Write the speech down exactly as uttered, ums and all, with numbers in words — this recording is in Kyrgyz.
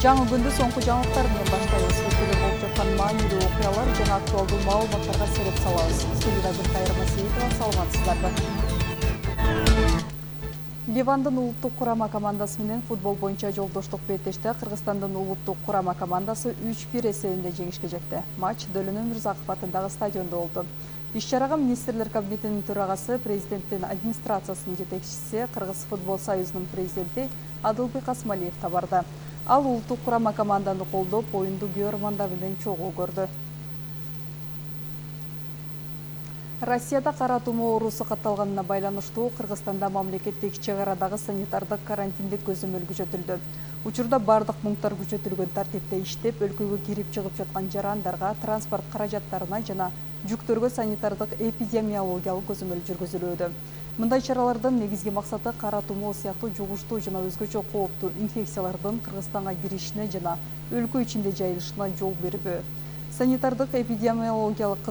Жаңы күндү соңку жаңылыктар менен баштайбыз. Өлкөдө болуп жаткан маанилүү окуялар жана актуалдуу маалыматтарга сереп салабыз. Студияда Гүлкайыр Масиитова, саламатсыздарбы. Ливандын улуттук курама командасы менен футбол боюнча жолдоштук беттеште Кыргызстандын улуттук курама командасы үч бир эсебинде жеңишке жетти. Матч Дөлөн Өмүрзаков атындагы стадиондо болду. Иш-чарага министрлер кабинетинин төрагасы, президенттин администрациясынын жетекчиси, Кыргыз футбол союзунун президенти Адылбек Асмалиев да барды. Ал улуттук курама команданы колдоп, оюнду көрөрмандар менен чогуу көрдү. Россияда кара тумоо оорусу катталганына байланыштуу Кыргызстанда мамлекеттик чек арадагы санитардык карантиндик көзөмөл күчөтүлдү. Учурда бардык пункттар күчөтүлгөн тартипте иштеп, өлкөгө кирип чыгып жаткан жарандарга, транспорт каражаттарына жана жүктөргө санитардык эпидемиологиялык көзөмөл жүргүзүлүүдө. Мындай чаралардын негизги максаты кара тумоо сыяктуу жугуштуу жана өзгөчө кооптуу инфекциялардын Кыргызстанга киришине жана өлкө ичинде жайылышына жол бербөө. Санитардык эпидемиологиялык